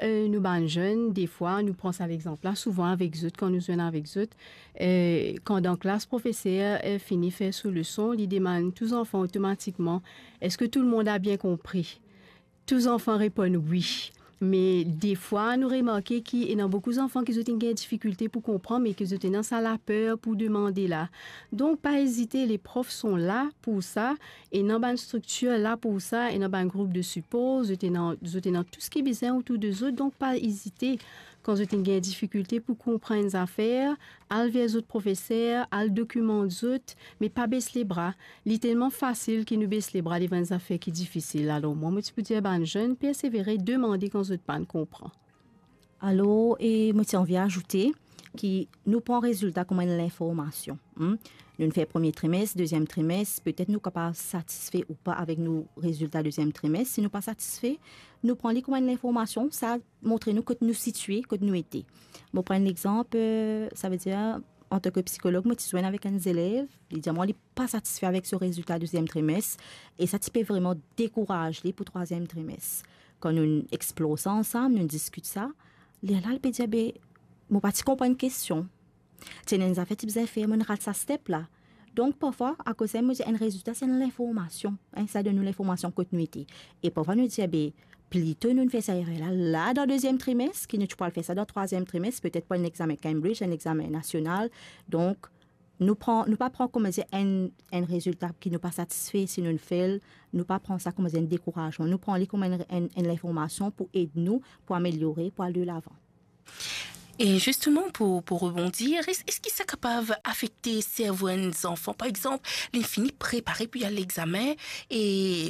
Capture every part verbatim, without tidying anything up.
eh, nou bann zenn, defwa, nou pran sa lexanp la, souvan avek zot, kan nou zwenn avek zot, eh, kan dan klas, profeser, eh, fini fer so leson, li demann tou zanfan otomatikman, "Eske tou lemonn a bien konpri?" Tou zanfan reponn wi. Me defwa, nou remarke ki ena boukou zanfan ki zot inn gagn difikilte pou konpran, me ki zot ena sa laper pou demande la. Donk, pa ezite, les profs sont là pour ça, ena bann striktir la pou sa, ena bann group de sipor, zot ena, zot ena tou seki bizin otour de zot, donk pa ezite. Kan zot inn gagn difikilte pou konpran enn zafer, al ver zot profeser, al dokimant zot, me pa bes lebra. Li telman fasil ki nou bes lebra devan enn zafer ki difisil. Alor, mwa, mo ti pou dir bann zenn, persevere, demande kan zot pann konpran. Alor, e mo ti anvi azoute ki nou pran rezilta kouma enn linformasion, hmm? Nou fer premie trimes, deziem trimes, petet nou kapav satisfe ou pa avek nou rezilta deziem trimes. Si nou pa satisfe, nou pran li kouma enn linformasion, sa montre nou kot nou sitie, kot nou ete. Mo pran enn lexanp, eh, savedir, antanke psikolog, mo ti zwenn avek enn zelev, li dir mwa li pa satisfe avek so rezilta deziem trimes, e sa ti pe vreman dekouraz li pou trwaziem trimes. Kan nou explor sa ansam, nou diskit sa, lerla li pe dir, "Be, mo pa ti konprann kestion. Ti ena enn zafer ti bizin fer, mo'nn rat sa step la." Donk, parfwa, akoz sa, mo dir enn rezilta, se enn linformasion, hein, sa donn nou linformasion kot nou ete. E parfwa, nou dir, be, plito nou fer sa erer la, la dan deziem trimes, ki nou ti pou al fer sa dan trwaziem trimes, petet pou enn examen Cambridge, enn examen nasional. Donk, nou pran, nou pa pran, kouma dir, enn, enn rezilta ki nou pa satisfe, si nou fail, nou pa pran sa kouma dir enn dekourazman. Nou pran li kouma enn, enn, enn linformasion pou ed nou, pou ameliore, pou al delavan. E zisteman, pou, pou rebondi, es, eski sa kapav afekte servo enn zanfan? Par exanp, li fini prepare pou al examen e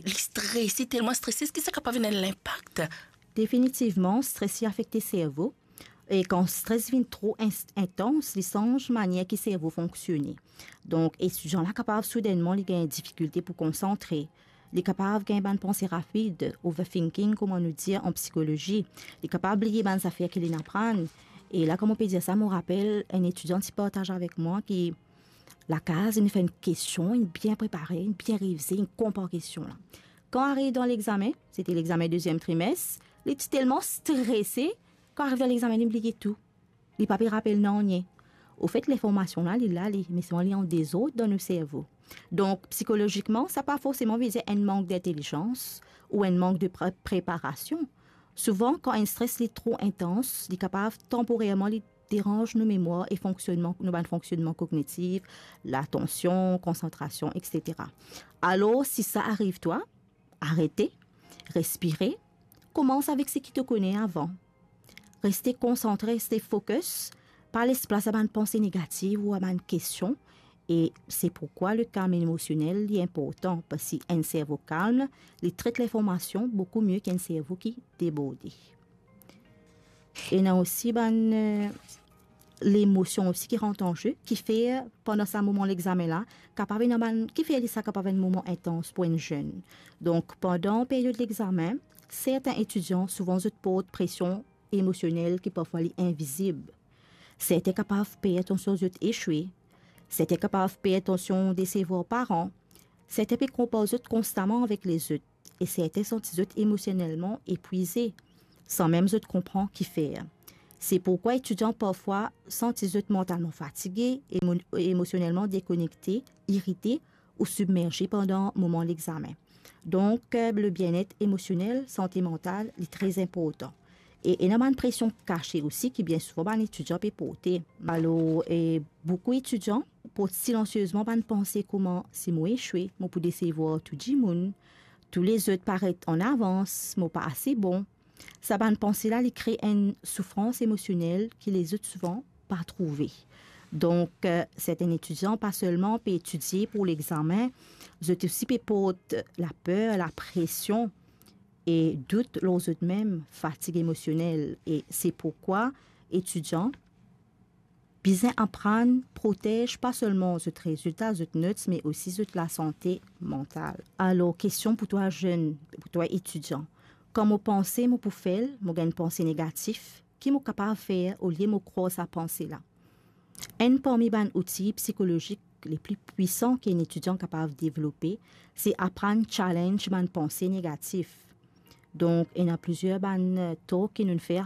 li strese, telman strese, eski sa kapav ena enn linpak? Definitivman, stres li afekte servo. E kan stres vinn tro ins-, intans, li sanz manier ki servo fonksione. Donk, etidian la kapav soudennman li gagn difikilte pou konsantre. Li kapav gagn bann panse rapid, overthinking, kouma nou dir an psikolozi. Li kapav bliye bann zafer ki li'nn aprann. E la, kouma mo pe dir sa, mo rapel enn etidian ti partaz avek mwa ki lakaz, li'nn fer enn kestion, li'nn bien prepare, li'nn bien revize, li'nn konpran kestion la. Kan ariv dan lexamen, sete lexamen deziem trimes, li ti telman strese, kan ariv dan lexamen, li'nn bliye tou. Li pa pe rapel nanye. Ofet, linformasion la, li la, li, me selman li an dezord dan nou servo. Donk, psikolozikman, sa pa forseman ve dir enn mank dintelizans ou enn mank de pre-, preparasion. Souvan, kan enn stres li tro intans, li kapav tanporerman li deranz nou memwar e fonksionnman, nou bann fonksionnman kognitif, latansion, konsantrasion, etsetera. Alor, si sa ariv twa, arete, respire, koumans avek seki to kone avan. Reste konsantre, reste focus, pa les plas a bann panse negativ ou a bann kestion, e se pourkwa le kalm emosionel li inportan, parski enn servo kalm, li tret linformasion boukou mie ki enn servo ki deborde. Ena osi bann, eh, lemosion osi ki rant an ze, ki fer pandan sa moman lexamen la, kapav ena bann, ki fer li sa kapav enn moman intans pou enn zenn. Donk, pandan period lexamen, sertin etidian, souvan zot port presion emosionel ki parfwa li invizib. Sertin kapav per atansion zot eswe. Sertin kapav per atansion desevwar paran. Sertin pe konpar zot konstaman avek lezot. E sertin santi zot emosionelman epwize, san mem zot konpran ki fer. Se pourkwa etidian parfwa santi zot mantalman fatige, emo-, emosionelman dekonekte, irite ou sibmerze pandan moman lexamen. Donk, eh, le bien-être emosionel, sante mantal, li tre inportan. E ena bann presion kase osi ki bien souvan bann etidian pe porte. Alor, e boukou etidian port silansiezman bann panse kouma, "Si mo eswe, mo pou desevwar tou dimoun, tou lezot paret an avans, mo pa ase bon." Sa bann panse la, li kre enn soufrans emosionel ki lezot souvan pa trouve. Donk, eh, sertin etidian pa selman pe etidie pou lexamen, zot osi pe port laper, lapresion e dout lor zot mem, fatig emosionel. E se pourkwa etidian bizin aprann protez pa selman zot rezilta, zot notes, me osi zot lasante mantal. Alor, kestion pou twa zenn, pou twa etidian. Kan mo panse mo pou fail, mo gagn panse negatif, ki mo kapav fer olie mo krwar sa panse la? Enn parmi bann outi psikolozik le pli pwisan ki enn etidian kapav devlope, se aprann challenge bann panse negatif. Donk, ena plizier bann, eh, talk ki nou'nn fer